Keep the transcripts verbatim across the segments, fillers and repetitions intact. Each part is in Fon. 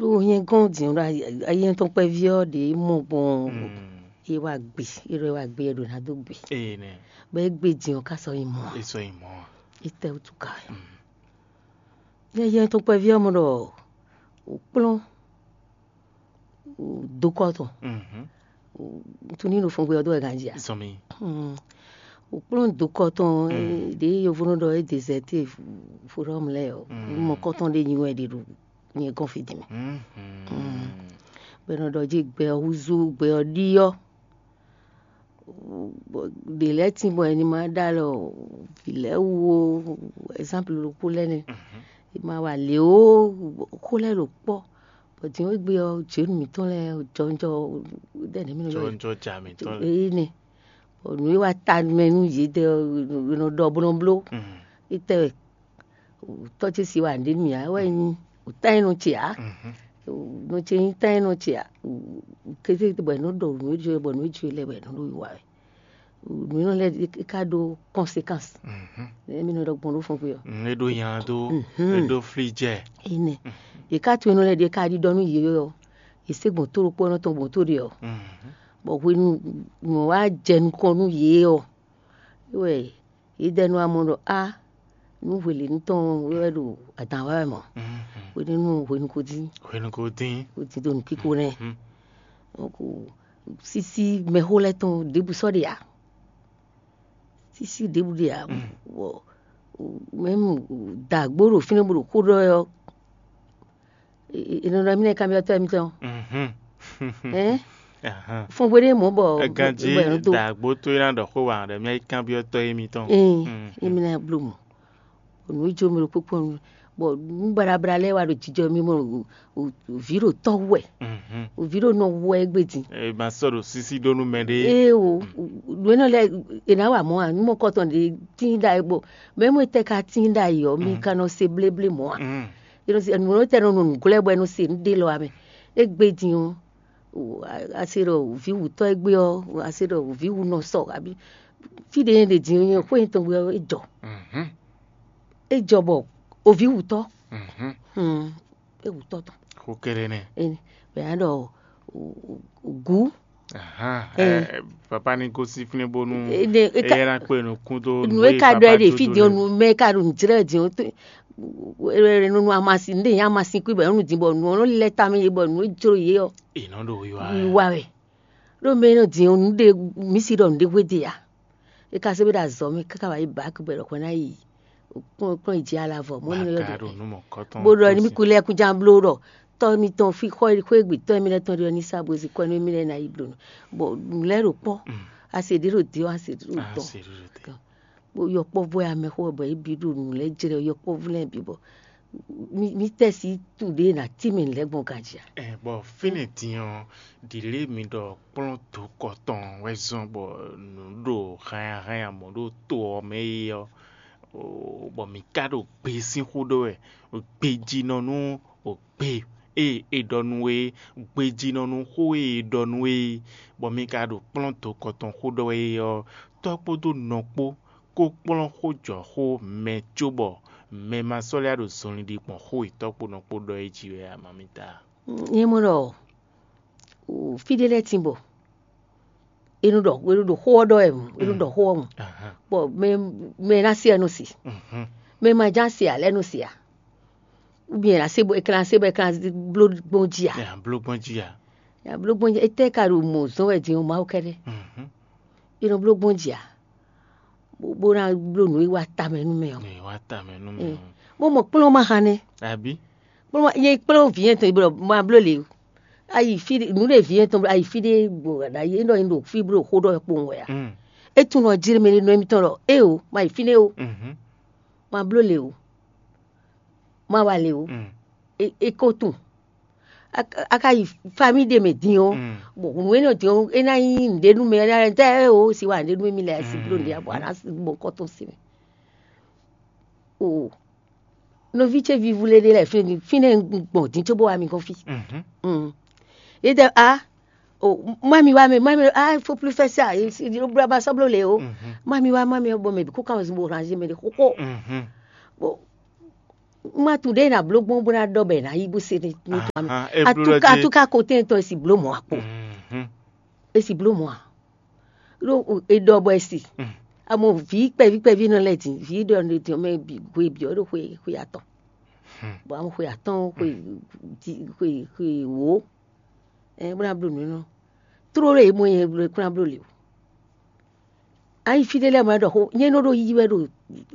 Ɖó nyɛ gɔ́n din ɔ́, ɖo ayé tɔn kpɛví ɔ́ ɖě mɔ gbɔn é wá gbe, é ɖɔ é wá gbe, é ɖo ná dó gbe. Bɔ é gbe din ɔ́ ká sɔ́ nyi mɔ ǎ. É sɔ́ nyi mɔ ǎ. É tɛ wútu ka wɛ. Nyɛ yɛ tɔn kpɛví ɔ́ mɔ ɖɔ wǒ kplɔ́n dokɔ tɔn. Tun ní ɖo fɔngbé ɔ́ dó wɛ ganjí a? Zɔn mi. Wǒ kplɔ́n dokɔ tɔn ɖě yovónɔ ɖɔ é dezɛte fodɔm lɛ́ɛ ɔ́, mɔ kɔ́tɔn ɖé nyi wɛ ɖe ɖo nyɛ gɔ́n fí din mɛ. Bɔ è nɔ ɖɔ jí gbɛ ɔ́ húzú, gbɛ ɔ́ ɖíɔ́. Bɔ ɖě lɛ́ɛ tín bɔ è ní ma ɖó alɔ vǐ lɛ́ɛ wú ó, ɛzánplu ɖokpó lɛ́ɛ nɛ́. È ma wa lě ó, xó lɛ́ɛ ɖo kpɔ́. Bɔ din ɔ́ égbé ɔ́, jěnu mǐtɔn lɛ́ɛ jɔnjɔ ɖɛ̌ nɛ̌ mí nɔ ylɔ́ yě? Jɔnjɔ ja mǐtɔn lɛ́ɛ. Énɛ́. Bɔ nǔ e wa ta mɛ nú yědɛɛ ɔ́, è nɔ ɖɔ bó nɔ bló. Étɛ́ wɛ? Tɔ́ ce si wa nǔɖé nú mì ǎ, é wɛ nyí wǔtá nyí nɔ ce ǎ. Nɔ ce nyí tá nyí nɔ ce ǎ. Kété bɔ è nɔ ɖɔ nǔ e jǒ bɔ nǔ e jǒ lɛ́ɛ bɔ è nɔ ɖo wiwa wɛ. Nǔ énɔ́ lɛ́ɛ é ka ɖó conséquence. Nɛ̌ mí nɔ ɖɔ gbɔn ɖó fɔngbé ɔ́? Mm, é ɖó nya dó, é ɖó flí jɛ. Énɛ́. Yě ká to énɔ́ lɛ́ɛ ɖíe ká ɖiɖɔ nú yě ɔ́, yě sé gbɔn tó ɖokpó ɔ́ nɔ tɔn gbɔn tó ɖé ɔ́. Bɔ hwenu nǔ ɔ́ wá jɛ nukɔn nú yě ɔ́, é wɛ yě dɛ nú amɔ ɖɔ á, nú hwelěnu tɔn wɛ ɖo adǎn wa wɛ mɔ̌. Hwenɛ́nu hwenu ko dín. Hwenu ko dín. Ko dín ɖo nǔkíko nɛ́. Donc sísí mɛxó lɛ́ɛ tɔn ɖěbǔ sɔ́ ɖe ǎ. Sísí ɖěbǔ ɖe ǎ. Bɔ mɛmu dǎgbó ɖo fínɛ́ bó ɖo xó ɖɔ wɛ ɔ́, è nɔ ɖɔ mí nɛ́ kanbyɔ́tɔ́ émítɔn. Fɔngbéɖé mɔ̌ bɔ ganjí bɔ è nɔ dó dǎgbó tó é ná ɖɔ xó wa ɖɔ mí kanbyɔ́tɔ́ émítɔn. Émi ná bló mɔ. Nǔ e jó mɛ ɖokpó kpɔ́n nú, bɔ nǔ baɖabla lɛ́ɛ wá ɖo jijɔ mì mɔ. Vǐ ɖo tɔ́ wɛ. Vǐ ɖo nɔ wɛ égbé din. È ma sɔ́ ɖo sísí ɖó nú mɛɖé. Ee o, nǔ énɛ́ lɛ́ɛ è nǎ wa mɔ̌ ǎ, nǔ mɔkɔtɔn ɖě tín ɖa é bɔ mɛ mɔ tɛ ka tín ɖa yi ɔ́, mi ka nɔ se bléblé mɔ̌ ǎ. Nǔ tɛ nɔ nɔ nǔglɛ́ bɔ è nɔ se nǔ ɖé lɔ ǎ mɛ. Égbé din ɔ́, a se ɖɔ vǐ wǔtɔ́ égbé ɔ́, a se ɖɔ vǐ wǔ nɔ sɔ abí fí ɖé nyɛ ɖe din ɔ́, nyɛ xwé nyɛ tɔn gbé ɔ́, é jɔ. É jɔ bɔ oví wǔtɔ́. É wǔtɔ́ tɔn. Xó kɛɖɛ nɛ. Bɛ a ɖɔ gǔ. Papa ní gosín fínɛ́ bónú é ná kpe nukún dó nú é ka ɖɔ é ɖe fí din ɔ́, nú mɛ ka ɖo nǔjlɛ́ din ɔ́, nunu amasin ɖe nyɛ amasin kú bɔ nú din bɔ nǔ ɔ́ lɛ́ tamɛ yé bɔ nǔ e jló yé ɔ́. È nɔ ɖo wiwa wɛ. Ɖó mɛ e nɔ din ɔ́, nǔ ɖe mǐ si ɖɔ nǔɖé hwéde ǎ. É ka sɔ́ bó ɖo azɔ̌ mɛ káká wá yi bǎk bɔ è ɖɔ hwɛ ná yi kplɔ́n yi jǐ alavɔ mɔ̌ mi nɔ ylɔ́ ɖe. Bó ɖɔ ní mí kú lɛ́ kúnjá bló ɖɔ tɔ́ mitɔn fí xɔ xwé gbe tɔ́ mì lɛ́ɛ tɔn ɖe ɔ́ ní sá bó zin kɔ́ nú mì lɛ́ɛ ná yi bló nǔ. Bɔ nǔ lɛ́ɛ ɖo kpɔ́, a se ɖě ɖo dě ɔ́, a se ɖě ɖo dɔn. Bó yɔkpɔ́vú wɛ amɛxó wɛ bɔ yě bǐ ɖo nǔ lɛ́ɛ jlɛ́ yɔkpɔ́vú lɛ́ɛ bǐ bɔ mí tɛ́ sí tu ɖě ná tímɛ lɛ́ gbɔn ganjí a? Ɛ bɔ fínɛ́ din ɔ́, ɖǐlé mi ɖɔ kplɔ́n dǒkɔ tɔn wɛ zɔ́n bɔ nǔ ɖo hanya hanya mɔ̌ ɖo to ɔ́ mɛ é ɔ́, bɔ mǐ ka ɖo gbe sín xó ɖɔ wɛ, gbejínɔ nú gbe e è ɖɔ nú we, gbejínɔ nú xó e è ɖɔ nú we, bɔ mi ka ɖo kplɔ́n dǒkɔ tɔn xó ɖɔ wɛ é ɔ́, tɔ́ kpódó nɔ kpó kó kplɔ́n xó jɔ xó mɛ cóbɔ mɛ ma sɔ́ lɛ́ ɖo zɔnlin ɖi gbɔn xó e tɔ́ kpó nɔ kpó ɖɔ é jí wɛ ǎ, mamita. Nyɛ mɔ ɖɔ fí ɖé lɛ́ɛ tín bɔ è nɔ ɖɔ è nɔ ɖo xó ɔ́ ɖɔ wɛ, è nɔ ɖɔ xó ɔ́ mɔ, bɔ mɛ mɛ ná se ɛ nɔ se, mɛ ma ján se ǎ lɛ́ɛ nɔ se ǎ. Ou bien è nǎ se bɔ è ka ná se bɔ è ka ná bló gbɔn jí ǎ. Nya bló gbɔn jí a? Nya bló gbɔn jí, étɛ́ ka ɖo mɔ̌ zɔ́n wɛ din ɔ́, Mawu kɛ́ɖɛ́. È nɔ bló gbɔn jí ǎ, bó ná bló nǔ e wá tamɛ nú mɛ ɔ́. Nya wá tamɛ nú mɛ ɔ́. Bó mɔ kplɔ́n ma hán nɛ́. Abí? Kplɔ́n ma, nyɛ kplɔ́n vǐ nyɛ́tɔn bɔ ma bló lě o. Ayi fí ɖé, nǔ ɖé vǐ nyɛ́tɔn ayi fí ɖé bɔ ɖ'ayǐ é ɖɔ nyi ɖo fí bó ɖo xó ɖɔ wɛ kpowun wɛ ǎ. É tunwun ɔ́ jlé mɛ ɖé nɔ émítɔn ɖɔ éeǒ, ma yi fínɛ́ o, ma bló lě o, ma wa lě o. É ko tunwun. A ka yi famíi ɖé mɛ din ɔ́, bɔ nǔ énɛ́ din ɔ́, é ná nyí nǔɖé nú mɛ, é ná nyí tɛ́ o si wa nǔɖé nú émí lɛ́ɛ si bló nǔɖé ǎ, bɔ a nǎ mɔ kɔ́ tɔn si mɛ. O nɔví ce vívú lé ɖé lɛ́ɛ fínɛ́, fínɛ́ un gbɔn din cóbó wá mi gɔ́n fí. Yě ɖɔ a o má mi wá mɛ, má mi a fó plú fɛ́ sá, yě bló ba sɔ́ bló lě o. Má mi wá, má mi bɔ mɛ bǐ kó kan zun bó ranzé mɛ ɖé xóxó. Bɔ Un ma tunwun ɖěe è nǎ bló gbɔn bó ná ɖɔ bɔ è nǎ yí bó se ní tɔn mɛ. Atúká atúká kotɛ́n tɔn è si bló mɔ̌ akpo. È si bló mɔ̌ a? Ɖó è ɖɔ bɔ è si. Amɔ vǐ kpɛví kpɛví nɔ lɛ́ɛ din, vǐ ɖɔ ɖɔ mɛ bǐ hwe bǐ ɔ́ ɖo xwe xwe atɔn. Bɔ amɔ xwe atɔn xwe xwe xwe wǒ. Ɛ bó ná bló nǔ énɔ́. Tlóló e mɔ nyɛ bló kplán bló le o. Ayi fí ɖé lɛ́ɛ mɔ wɛ ɖɔ xó nyɛ nɔ ɖo yiyi wɛ ɖo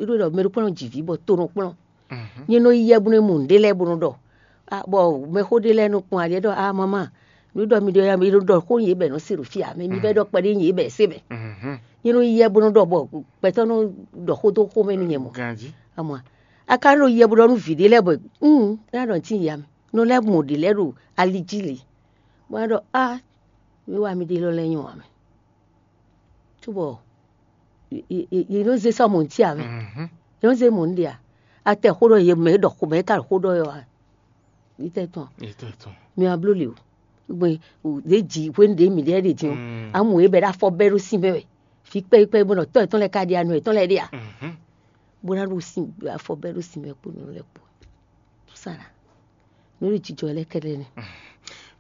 ɖo ɖɔ mɛ ɖokpɔ́n nɔ ji vǐ bɔ to nɔ kplɔ́n. Nyɛ nɔ yi yɛ bó nɔ mu nǔɖé lɛ́ɛ bó nɔ ɖɔ. Bɔ mɛxó ɖé lɛ́ɛ nɔ kpɔn ali ɖɔ a mama, nǔ ɖɔ mi ɖɔ mi ɖɔ ɖɔ xó yě bɛ nɔ se ɖo fí ǎ, mɛ mi bɛ ɖɔ kpɛɖé yě bɛ se mɛ. Nyɛ nɔ yi yɛ bó nɔ ɖɔ bɔ gbɛtɔ́ nɔ ɖɔ xó dó xó mɛ nú nyɛ mɔ. Amɔ a ka nɔ yi yɛ bó ɖɔ nú vǐ ɖé lɛ́ɛ bɔ un ná ɖɔ nǔ tín ya mɛ. Nɔ lɛ́ɛ mɔ ɖě lɛ́ɛ ɖo ali jí lě, bó ná ɖɔ á mi wá mi ɖe lɔ lɛ́ɛ nyɔ ǎ mɛ. Cóbɔ yě nɔ zé sɔ́ mɔ̌ cí ǎ mɛ. Yě nɔ zé mɔ̌ ɖe ǎ. Atɛ xó ɖɔ yě mɛ ɖɔ xó mɛ ka xó ɖɔ yɔ ǎ. Yítɛ tɔn mi wá bló le o. Gbé ɖě ji hwenu ɖě mǐ ɖe ɖe din ɔ́, amú yě bɛ ɖo afɔ bɛ́ ɖó sin mɛ wɛ. Vǐ kpɛ́ kpɛ́ bó nɔ tɔ́ yětɔn lɛ́ɛ ka ɖe anɔ yětɔn lɛ́ɛ ɖe ǎ. Bó ná ɖo sin afɔ bɛ́ ɖó sin mɛ kpó nǔ lɛ́ɛ kpó. Sala. Nǔ ɖo jijɔ lɛ́ɛ kɛ́ɖɛ́ nɛ́.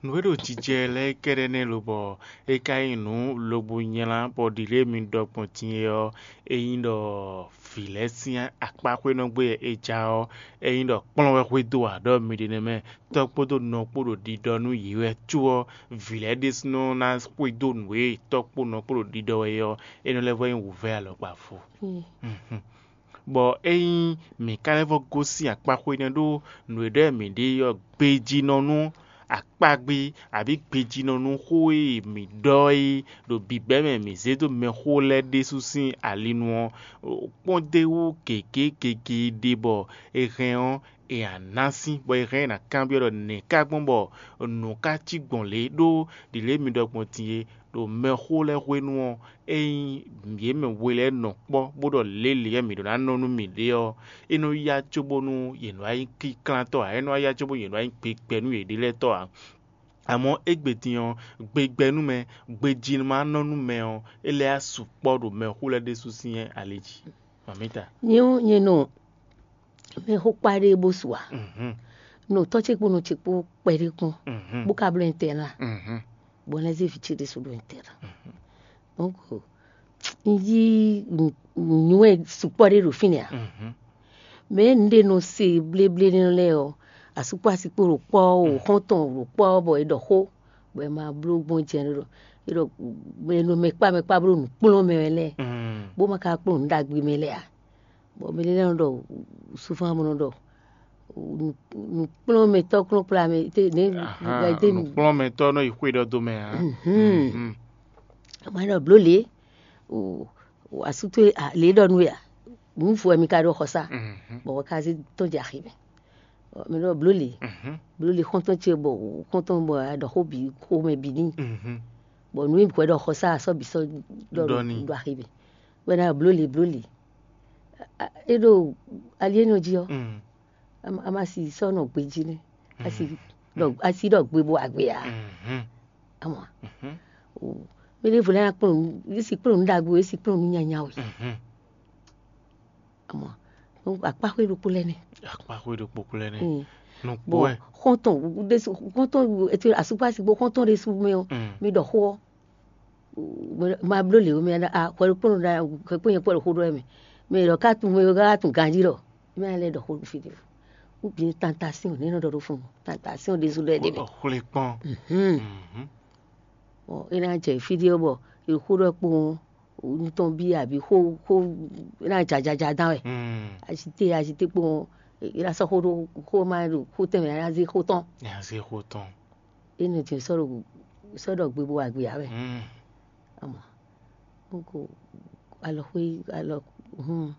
Nǔ e ɖo jijɛ lɛ́ɛ kɛ́ɖɛ́ nɛ́ lobɔ é ka nyí nǔ lobo nylá bɔ ɖi lě e mi ɖɔ gbɔn din é ɔ́, é nyí ɖɔ vǐ lɛ́ɛ sín akpáxwénɔgbé e é ja ɔ́, é nyí ɖɔ kplɔ́n wɛ xwedó ǎ ɖɔ mi ɖe nɛ́ mɛ. Tɔ́ kpódó nɔ kpó ɖo ɖiɖɔ nú yě wɛ có ɔ́, vǐ lɛ́ɛ ɖésúnɔ ná xwedó nǔ e tɔ́ kpó nɔ kpó ɖo ɖiɖɔ wɛ é ɔ́, é nɔ lɛ́ vɔ nyí wǔvɛ́ alɔkpa vo. Bɔ ényí mǐ ka lɛ́ vɔ́ gosín akpáxwé nɛ́ ɖó nǔ e ɖɔ mǐ ɖe ɔ́ gbejínɔ nú akpágbí abǐ gbejínɔ nú xó e mǐ ɖɔ é ɖo bǐbɛ́ mɛ mǐ zé dó mɛxó lɛ́ɛ ɖésú sín ali nu ɔ́, kpɔ́n d'é wú gěgé gěgé ɖé bɔ è hɛn ɔ́, è nǎ ná sín, bɔ è hɛn ɔ́ è nǎ kanbyɔ́ ɖɔ nɛ̌ ka gbɔn bɔ nǔ ka cí gbɔn lě ɖó ɖi lě mi ɖɔ gbɔn din é, ɖo mɛxó lɛ́ɛ hwenu ɔ́, ényí yě mɛ we lɛ́ɛ nɔ kpɔ́ bó ɖɔ lě lě mǐ ɖó ná nɔ nú mǐɖée ɔ́, é nɔ yá cóbónú yě nɔ wá nyí kínklántɔ́ ǎ, é nɔ wá yá cóbónú yě nɔ wá nyí gbegbɛnúyěɖélɛ́tɔ́ ǎ. Amɔ̌ égbé din ɔ́, gbegbɛnúmɛ, gbejínɔmánɔ́númɛ ɔ́, é lɛ́ yá sukpɔ́ ɖo mɛxó lɛ́ɛ ɖésú sín ali jí. Mamǐta. Nyɛ ɔ́, nyɛ nɔ mɛxó kpa ɖé bó su ǎ. Nɔ tɔ́ ce kpó nɔ ce kpó kpɛɖé kpɔ́n, bó ka bló ɛntɛ́ ná, bɔ un lɛ́ zé vǐ ce ɖésú ɖó ɛntɛ́ ná. Donc un yí nǔnywɛ́ sukpɔ́ ɖé ɖo fínɛ́ ǎ. Mɛ nǔɖé nɔ se bléblé nɛ́ lɛ́ɛ ɔ́, asukpó asikpó ɖo kpɔ́ ɔ́, xɔ́ntɔn ɖo kpɔ́ ɔ́, bɔ è ɖɔ xó, bɔ è ma bló gbɔn jɛ ɖɔ è ɖɔ mɛ nɔ mɛ kpá mɛ kpá bló nǔkplɔ́n mɛ wɛ lɛ́ɛ, bó ma ka kplɔ́n nǔ ɖagbe mɛ lɛ́ɛ ǎ. Bɔ mɛ ɖé lɛ́ɛ nɔ ɖɔ souvent mo nɔ ɖɔ nǔkplɔ́nmɛtɔ́ kplɔ́nkplɔ́n mɛ té ne té nǔkplɔ́nmɛtɔ́ nɔ yi xwé ɖɔ dó mɛ ǎ. Ma ɖɔ bló lě asú towe lě ɖɔ nú we a, nǔ fo wɛ mi ka ɖo xɔ sá, bɔ wɔ ka zé tɔn jɛ axi mɛ. Mi ɖɔ bló lě, bló lě xɔ́ntɔn ce bɔ xɔ́ntɔn bɔ a ɖɔ xó bǐ xó mɛ bǐ n'i, bɔ nǔ e hwɛ ɖɔ xɔ sá asɔ́ bǐ sɔ́ ɖɔ ɖɔ n'i ɖo axi mɛ. Wɛ ná ɖɔ bló lě bló lě. É ɖo ali énɛ́ jí ɔ́, a ma si sɔ́ nɔ gbejí nɛ́, a si ɖɔ gbe bo agbe ǎ. Amɔ mɛ ɖěvo lɛ́ɛ ná kplɔ́n nǔ, é si kplɔ́n nǔ ɖagbe, é si kplɔ́n nǔ nyanya wɛ. Amɔ akpáxwé ɖokpó lɛ́ɛ nɛ́. Akpáxwé ɖokpó lɛ́ɛ nɛ́. Nukpó wɛ. Xɔ́ntɔn ɖésú xɔ́ntɔn asukpási gbó xɔ́ntɔn ɖésú mɛ ɔ́, mi ɖɔ xó ɔ́, ma bló lě mɛ a hwɛ ɖokpónɔ ɖa hwɛ kpó nyɛ kpɔ́ ɖo xó ɖɔ mɛ. Mɛ ɖɔ ká tun mɛ ka tun ganjí ɖɔ mɛ lɛ ɖɔ xó ɖo fí ɖé. Ou bien tentation ne nɔ ɖɔ ɖo fún, tentation ɖésú ɖɔ ɖé mɛ. Xwlé kpɔn. É ná jɛ fí ɖé bɔ xó ɖɔ kpó nutɔn bí àbí xó xó é ná jajaja dán wɛ. Agité agité kpó é ná sɔ́ xó ɖó xó ma ɖo xó tɛnmɛ ná zé xó tɔn. Ná zé xó tɔn. É nɔ din sɔ́ ɖo sɔ́ ɖɔ gbe bó wa gbe ǎ wɛ. Amɔ nukó alɔxwé alɔ hun.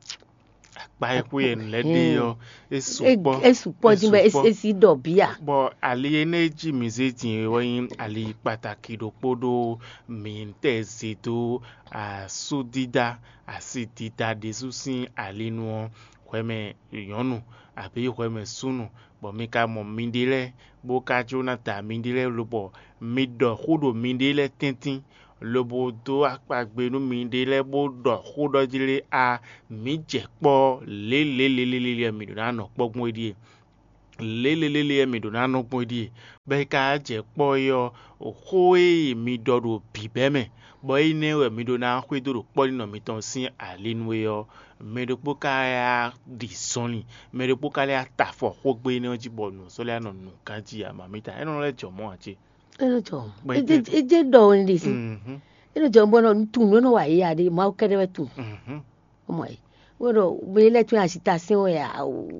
Akpa e xwé yɛ nǔ lɛ́ɛ ɖe ɔ́, é sukpɔ́. É sukpɔ́ dín bɔ é sí ɖɔ bíà. Bɔ ali énɛ́ e jí mǐ zé din é wɛ nyí ali kpataki ɖokpó ɖó mǐtɛɛ zé dó asúdídá asidídá ɖésú sín ali nu ɔ́, hwɛmɛ nyɔ̌nu abǐ hwɛmɛ súnnu, bɔ mi ka mɔ miɖée lɛ́ɛ, bó ka jló ná da miɖée lɛ́ɛ lobɔ mi ɖɔ xó ɖo miɖée lɛ́ɛ tɛ́ntin, lobo dó akpagbe nú miɖée lɛ́ɛ bó ɖɔ xó ɖɔ jí lé a, mǐ jɛ kpɔ́ lě lě lě lě lě lě mǐ ɖó ná nɔ kpɔ́ gbɔn é ɖíe. Lě lě lě lě mǐ ɖó ná nɔ gbɔn é ɖíe, bɔ é ka jɛ kpɔ́ é ɔ́, xó e mi ɖɔ ɖo bǐbɛ́ mɛ, bɔ énɛ́ wɛ mi ɖó ná xwedó ɖo kpɔ́ɖinɔ mitɔn sín ali nu é ɔ́, mɛ ɖokpó ka yá ɖi zɔnlin, mɛ ɖokpó ka lɛ́ ta afɔ xógbe énɛ́ ɔ́ jí bɔ nǔ sɔ́ lɛ́ nɔ nǔ ganjí ǎ, mamǐta, é nɔ lɛ́ jɔ mɔ̌ ǎ cé? É nɔ jɔ. Bɔ é jɛ- é jɛ ɖɔ wɛ ɖe si. Mhm. É nɔ jɔ bɔ nɔ tunwun nɔ wa yě ya ɖe, Mawu kɛɖɛ wɛ tunwun. Mhm. Ọmọ yìí, wọ́n ɖɔ wele lɛ tún azitasɛn wɛ a o,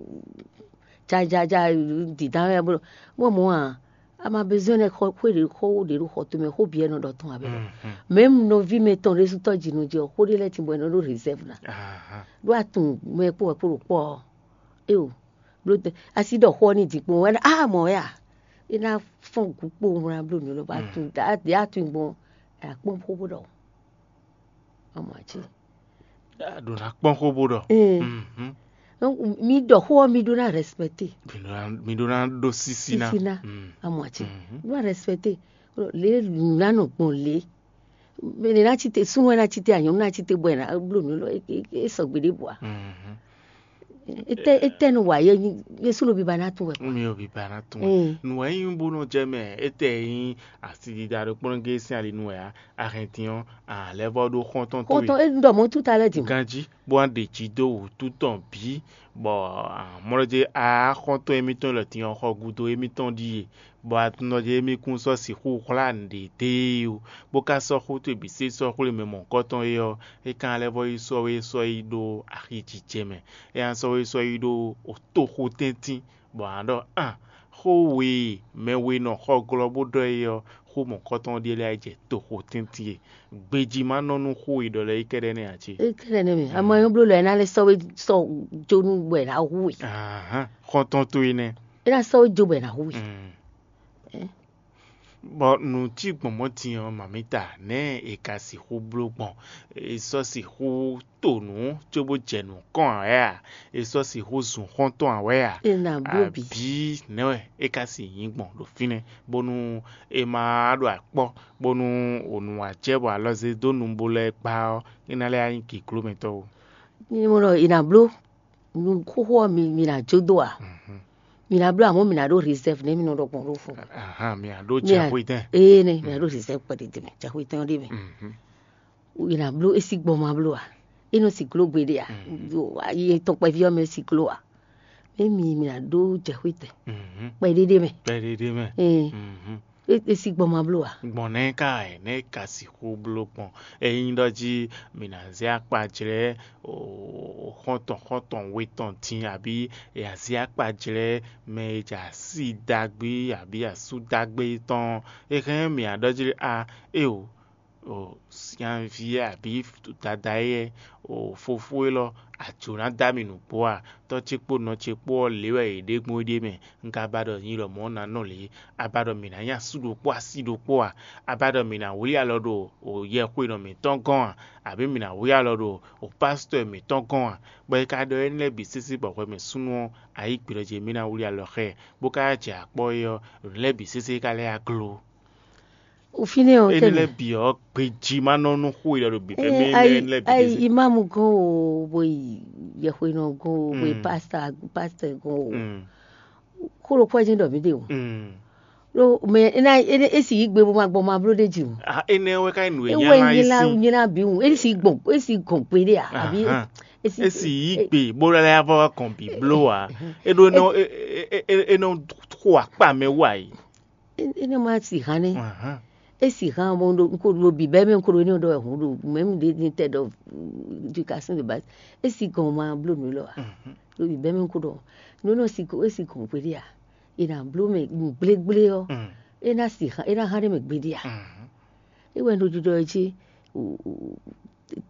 jajaja, dǐdá wɛ bolo, wọ́n mɔ a, a ma besoin nɛ xɔ xwé ɖe xɔ wo ɖe ɖo xɔ tɔn mɛ, xó biɛ nɔ ɖɔ tɔn abɛ. Même nɔví mɛ tɔn ɖe sutɔ dzi nɔ jɛ xó ɖe lɛ ti bɔ nɔ ɖo réserve na. Ɖo atun mɛ kpó wɛ kpó ɖo kpɔ. E o, blo asi ɖɔ xɔ ni dzi kpó wɛ a mɔ wɛ a, e na fɔn gu kpó wla blo nɔ lɔ ba tun a tun gbɔn. Akpɔn xó bó ɖɔ. Ọmọ àti. Ɖo ná kpɔ́n xó bó ɖɔ. Ee. Mhm. Donc, mi ɖɔ xó ɔ́, mi ɖó ná respecté. Mi ɖó ná- mi ɖó ná ɖó sísí ná. Sísí ná. Mm. Amɔ àti. Mhm. Ɖó ná respecté. Lě nǔ ná nɔ gbɔn lě. Mɛ ná tsi te súnmọ́ ná tsi te anyɔ̌nu ná tsi te bɔ ɛ ná bló nǔ lɔ é sɔgbe ɖé bua. Mhm. Etɛ etɛ nu wa yɛ nyi yɛ súnmọ́ bí ba ná tún wɛ. Mi ò bí ba ná tún wɛ. Mm. Nù wɛ nyí bó nɔ jɛ mɛ etɛ nyí asidida ɖo kplɔ́n gé sín ali nù wɛ á. Arɛntin ɔ́, a lɛ́ vɔ ɖó xɔ́ntɔn towe. Xɔ́ntɔn e ɖɔ mɔ̌ túta lɛ́ɛ din. Ganjí bó wá ɖe jǐ dó wǔtu tɔn bǐ, bɔ mɔ̌lɔ́jé a xɔ́ntɔn émítɔn lɔ din ɔ́ xɔ gúdo émítɔn ɖíe, bɔ atunɔjɛ émí kún sɔ́ sixú hwlá nǔɖé dó e ó, bó ka sɔ́ xó towe bǐ sé sɔ́ xwlé mɛ mɔ̌hunkɔtɔn é ɔ́, é ka lɛ́ vɔ yi sɔ́ we sɔ́ yi ɖó axi jijɛ mɛ. É ná sɔ́ we sɔ́ yi ɖó toxo tɛ́ntin, bɔ a nǎ ɖɔ a xó we e mɛ we nɔ xɔ glɔ́ bó ɖɔ é ɔ́, xó mɔ̌hunkɔtɔn ɖíe lɛ́ɛ jɛ toxo tɛ́ntin e. Gbejí ma nɔ nú xó e ɖɔ lɛ́ɛ é kɛ́ɖɛ́ nɛ́ ǎ cé? É kɛ́ɖɛ́ nɛ́ mɛ. Ama nyɔ́ bló lɔ ɛ ná lɛ́ sɔ́ we sɔ́ jó nú bɔ ɛ ná hu we. Ahán, xɔ́ntɔn towe nɛ́. É ná sɔ́ we jó bɔ ɛ ná hu we. Mm. Ɛ? Bɔ nǔ cí gbɔn mɔ̌ din ɔ́, mamǐta, nɛ̌ è ka sixú bló gbɔn? È sɔ́ sixú to nǔ cóbó jɛ nǔ kɔn ǎ wɛ a? È sɔ́ sixú zun xɔ́ntɔn ǎ wɛ a? È nǎ bló bǐ. Abǐ nɛ̌ wɛ é ka si nyǐ gbɔn ɖo fínɛ́, bónú è ma ɖo akpɔ́, bónú ònú wǎ jɛ bɔ alɔ zé dó nu bó lɛ́ɛ gbá ɔ́, é ná lɛ́ nyí gěglómɛtɔ́ ó. Nyɛ mɔ ɖɔ è nǎ bló nú xóxó ɔ́ mi mi ná jó dó a? Mhm. Mi ná bló amɔ̌ mi ná ɖó réserve nɛ́ mi nɔ ɖɔ gbɔn ɖó fun. Ahan, mi ná ɖó jɛ xwedɛ́n. Ee nɛ mi ná ɖó réserve kpɛɖé dé mɛ, jɛ xwedɛ́n ɔ́ ɖé mɛ. Mhm. È nǎ bló é sí gbɔn ma bló a? É nɔ si gló gbeɖé a? Ayi tɔn kpɛví ɔ́ mɛ si gló a? Mɛ mi mi ná ɖó jɛ xwedɛ́n Mhm. kpɛɖé ɖé mɛ. Kpɛɖé ɖé mɛ. Ee. Mhm. É é sí gbɔn ma bló a? Gbɔn nɛ́ ka ɛ nɛ́ ka sixú bló gbɔn? Ényí ɖɔ jí mǐ ná zé akpajlɛ́ xɔ́ntɔn xɔ́ntɔn we tɔn din abǐ è nǎ zé akpajlɛ́ mɛ e jɛ así ɖagbe abǐ asú ɖagbe tɔn, é hɛn mǐ ná ɖɔ jí a éo, o nyaví abǐ dada éyɛ́, o fofó élɔ́, a jǒ ná dó ami nǔgbó a? Tɔ́ ce kpó nɔ ce kpó ɔ́, lě wɛ yě ɖe gbɔn é ɖíe mɛ. Un ka ba ɖɔ nyi lɔmɔ̌ ná nɔ lě? A ba ɖɔ mǐ ná nyí asú ɖokpó así ɖokpó a? A ba ɖɔ mǐ ná wlí alɔ ɖo yɛxwenɔ mǐtɔn gɔ́n a? Abǐ mǐ ná wlí alɔ ɖo pásítɔ́ mǐtɔn gɔ́n a? Bɔ è ka ɖɔ énɛ́ lɛ́ɛ bǐ sésé bɔ hwɛ mɛ súnnu ɔ́, a yí gbe ɖɔ jí mǐ ná wlí alɔ xá ɛ, bó ka jɛ akpɔ́ é ɔ́, nǔ lɛ́ɛ bǐ sésé ka lɛ́ yá gló. O fínɛ́ ɔ́ Énɛ́ tɛnɛ. Lɛ́ɛ bǐ ɔ́, gbejí ma nɔ nú xó e ɖɔ ɖo bǐbɛ́ mɛ Ɛ, énɛ́ ayi lɛ́ɛ bǐ ayi sésé. Imamu gɔn o, bo yi yɛxwenɔ gɔn o, bo yi Mm. Pasta pasta gɔn o. Mm. Xó ɖokpó ɛ jɛ́n ɖɔ mǐ ɖe o. Mm. Ɖó mɛ é ná é ná- é si yí gbe bó ma gbɔn ma bló ɖé jǐ o. Ah, énɛ́ wɛ ká yi nǔ e É nyá wɛ lá nyí é lá sí. Nyí lá bǐ wù. É si gbɔn é si gɔn gbe ɖé a? Àbí Ahan. É si É si yí gbe bó lɛ́ yá vɔ kɔn bǐ bló a? É ɖó é nɔ é- é- é- é nɔ xo akpa mɛ wú ayi. É é nɔ ma si hàn nɛ. Ahan. É si hàn mo ɖo ko ɖo bǐbɛ́ mɛ ko ɖo énɛ́ ɖɔ wɛ hǔn ɖo mɛ mi ɖe ní tɛ ɖɔ éducation de base. É si gɔn ma bló nǔ lɔ a? Mhm. Ɖo bǐbɛ́ mɛ ko ɖɔ nǔ nɔ si ko é si gɔn gbe ɖé a? È nǎ bló mɛ gblégblé ɔ́, Mm. É ná si hã é ná hã ɖé mɛ gbeɖé a? Mhm. É wɛ ɖo ɖiɖɔ ɛ jí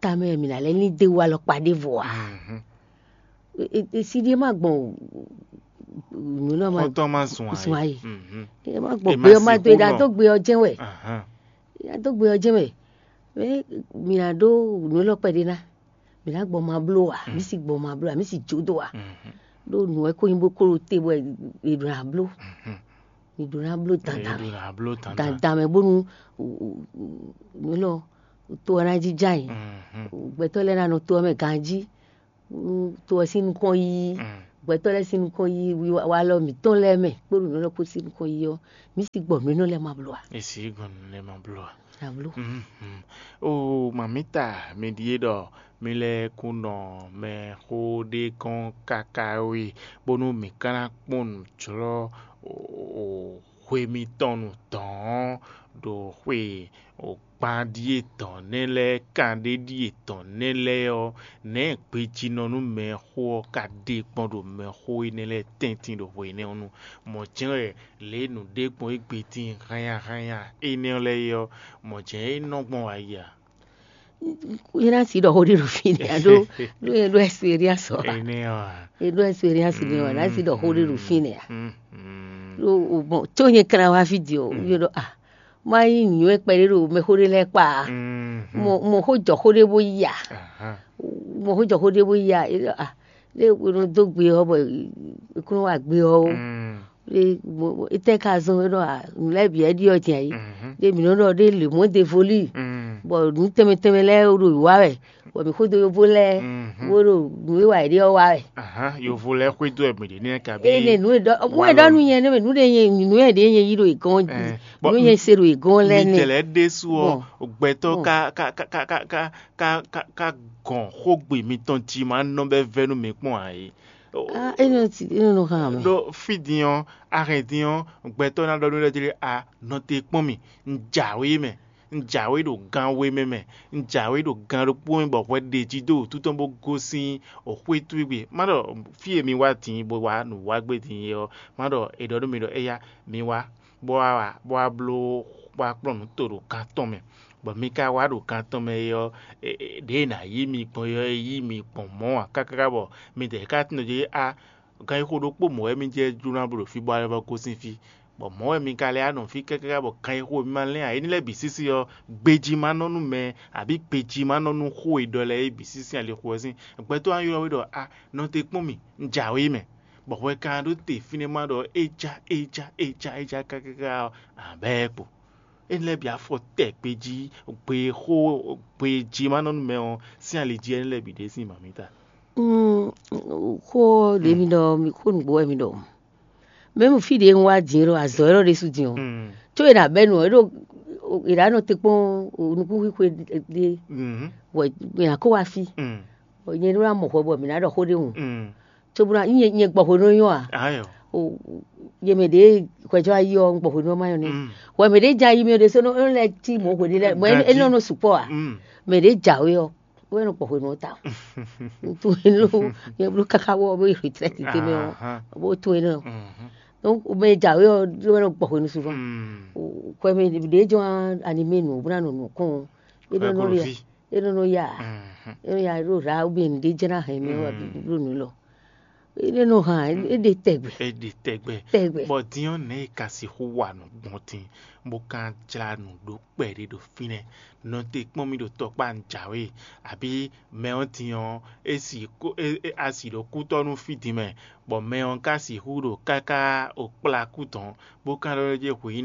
tamɛ mǐ ná lɛ́ ní dé wú alɔkpa ɖěvo a? Mhm. Siɖiɖe má gbɔn nǔ nɔ ma Xɔ́ntɔn má zun zun ayé. Ayé. Mhm. É má gbɔn È má gbé ɔ́ má sixú dó é ná nɔ. Dó gbé ɔ́ jɛ́n wɛ. Ahan. É ná dó gbé ɔ́ jɛ́n wɛ. Mɛ mǐ ná dó nǔ élɔ́ kpɛɖé ná. Mǐ ná gbɔn ma bló a? Mm. Mǐ si gbɔn ma bló a? Mǐ si jó dó a? Mhm. Ɖó nǔ wɛ kó nyí bó kó ɖo te bɔ è ɖo ná bló. Mhm. Mi ɖó ná bló dandan mɛ. Dandan mɛ bónú nǔ élɔ́ to ɔ́ ná jínjɔ́n ayǐ. Gbɛtɔ́ lɛ́ɛ ná nɔ to ɔ́ mɛ ganjí. To ɔ́ sín nukɔn yíyí, gbɛtɔ́ lɛ́ɛ sín nukɔn yíyí, walɔ mǐtɔn lɛ́ɛ mɛ kpódó nǔ lɛ́ɛ kpó sín nukɔn yíyí ɔ́, mǐ sixú gbɔ nǔ énɛ́ lɛ́ɛ ma bló ǎ. È sixú gbɔ nǔ lɛ́ɛ ma bló ǎ. Abló. Oo, mamǐta, mi ɖíe ɖɔ mi lɛ́ kún nɔ mɛxó ɖé gɔ́n káká wɛ, bónú mǐ ka ná kpɔ́n nǔ jlɔ́ hwe mitɔn nu dɔ̌n ɖo xwe gban ɖíe dɔ̌n nɛ́ lɛ́ɛ, kan ɖé ɖíe dɔ̌n nɛ́ lɛ́ɛ ɔ́, nɛ̌ gbejínɔ nú mɛxó ɔ́ ka ɖe gbɔn ɖo mɛxó énɛ́ lɛ́ɛ tɛ́ntin ɖo hwe énɛ́ ɔ́ nu? Mɔ̌ jɛ́n wɛ lě e nǔ ɖe gbɔn égbé tíin hánnyáhánnyá énɛ́ ɔ́ lɛ́ɛ é ɔ́, mɔ̌ jɛ́n é nɔ gbɔn wá yi a? É ná si ɖɔ xó ɖé ɖo fínɛ́ ǎ, ɖó ɖó é ɖó expérience ɔ́ ǎ. Énɛ́ ɔ́ ǎ. É ɖó expérience nɛ́ ɔ́, é ná si ɖɔ xó ɖé ɖo fínɛ́ ǎ. Ɖó bon, có nyɛ kan wá fí din ɔ́, yó ɖɔ a má nyí nǔnywɛ́ kpɛɖé ɖo mɛxó ɖé lɛ́ɛ kpa ǎ. Mɔ mɔ xó jɔ xó ɖé bó yí a. Mɔ xó jɔ xó ɖé bó yí a, é ɖɔ a lé é nɔ dó gbe ɔ́ bɔ é kún nɔ wa gbe ɔ́ ó. Étɛ́ ka zɔ́n é ɖɔ a nǔ lɛ́ɛ bǐ wɛ ɖi ɔ́ din ayǐ. Ɖé mǐ nɔ ɖɔ ɖé le mɔ̌ de voli, bɔ nǔ tɛnmɛ tɛnmɛ lɛ́ɛ ɖo wá wɛ, bɔ mǐ xódó yóvó lɛ́ɛ bó ɖo nǔ e wa yě ɖe ɔ́ wa wɛ. Yovo lɛ́ɛ xwedó wɛ mǐ ɖe nɛ́ kabí? Ene nǔ e ɖɔ mú e ɖɔ nú nyɛ nɛ́ mɛ nǔ ɖe nyɛ nǔ e ɖe nyɛ yí ɖo yě gɔ́n jí, nǔ e nyɛ se ɖo yě gɔ́n lɛ́ɛ nɛ́. Midɛlɛ ɖésú ɔ́, gbɛtɔ́ ka ka ka ka ka ka ka ka ka gɔn xógbe mitɔn jí ma nɔ bɛ vɛ nú mi kpɔ́n ǎ é. Ah, é nɔ ti é nɔ hàn mɛ. Ɖó fí din ɔ́, a hɛn din ɔ́, gbɛtɔ́ ná ɖɔ nú éɖɔ́ jí a nɔ te kpɔ́n mì, un jǎwe mɛ, un jǎwe ɖo gan we mɛ mɛ, un jǎwe ɖo gan ɖokpó mɛ bɔ hwɛ ɖe jí dó wǔtu tɔn bó gosín xwé towe gbe. Má ɖɔ fí e mi wá din bó wá nǔ wá gbé din é ɔ́, má ɖɔ è ɖɔ nú mi ɖɔ éyá mi wá bó wá wa bó wá bló bó wá kplɔ́n nǔ to ɖo gan tɔn mɛ, bɔ mi ka wá ɖo gan tɔn mɛ é ɔ́, ɖěe è nǎ yí mi gbɔn é ɔ́, é yí mi gbɔn mɔ̌ ǎ káká bɔ midɛɛ ka tunwun jí á, ganxixo ɖokpó mɔ̌ wɛ mi jɛ jló ná bló ɖo fí bɔ a lɛ́ vɔ́ gosín fí, bɔ mɔ̌ wɛ mi ka lɛ́ wá nɔ fí káká bɔ ganxixo e mi ma lɛ́n ǎ. Énɛ́ lɛ́ɛ bǐ sísí ɔ́, gbejí ma nɔ nú mɛ, abǐ gbejí ma nɔ nú xó e ɖɔ lɛ́ɛ é bǐ sísí alixo ɔ́ sín. Gbɛtɔ́ wá ylɔ́ we ɖɔ a nɔ te kpɔ́n mì, un jǎwe mɛ, bɔ hwɛ ka ɖó te fínɛ́ má ɖɔ é já é já é já é já kákáká ɔ́, abɛ́ kpo. Énɛ́ lɛ́ɛ bǐ afɔ tɛ gbejí gbe xó gbejí ma nɔ nú mɛ ɔ́ sín ali jí énɛ́ lɛ́ɛ bǐ ɖe sín mǎmita. Xó ɔ́ ɖě mi ɖɔ mi xó nǔgbó wɛ mi ɖɔ. Mɛ̌ fí ɖě un wá din é ɖo azɔ̌ élɔ́ ɖésú din ɔ́, có è nǎ bɛ́ nǔ ɔ́, é ɖo è nǎ nɔ te kpɔ́n nukúnxwixwe ɖé, bɔ è nǎ kó wá fí, bɔ nyɛ ɖó ná mɔ hwɛ bɔ mǐ ná ɖɔ xó ɖé hǔn. Cóbónú nyɛ nyɛ gbɔ hwenu nyɔ́ a? Ayɔ. O, yě mɛ ɖě hwɛjɔ ayi ɔ́, un gbɔ hwenu ɔ́ má nyɔ́ n'i. Hwɛ mɛ ɖě ja yi mɛ ɖé sɔ́ nɔ lɛ́ cí mɔ̌ hwenu lɛ́ mɔ̌ é nɔ nɔ sukpɔ́ a? Mɛ ɖě jǎwe ɔ́, wɛ nɔ gbɔ hwenu ɔ́ ta. Tunwun énɛ́, nyɛ bló káká wɔ bó yi retraite tɛnmɛ ɔ́, bó tunwun énɛ́ ɔ́. Donc mɛ jǎwe ɔ́ wɛ nɔ gbɔ hwenu souvent. Hwɛ mɛ ɖě jɔ animé nǔ bó ná nɔ nǔ kɔn ɔ́, é nɔ nɔ ya, é nɔ nɔ ya, é nɔ ya ɖo ra ou bien nǔɖé jɛ ná hɛn mɛ wɛ bló nǔ lɔ. É nɔ hàn é ɖe tɛgbɛ. É ɖe tɛgbɛ. Tɛgbɛ. Bɔ din ɔ́ nɛ̌ è ka sixú wa nǔ gbɔn din, bó ka jlá nǔ ɖó kpɛɖé ɖo fínɛ́? Nɔ te kpɔ́n mì ɖo tɔkpá un jǎwe, abǐ mɛ ɔ́ din ɔ́, é si kó é é a si ɖo kútɔ́ nú fí din mɛ, bɔ mɛ ɔ́ ka sixú ɖo káká o kplá kú tɔn, bó ka ɖɔ jɛ hweyí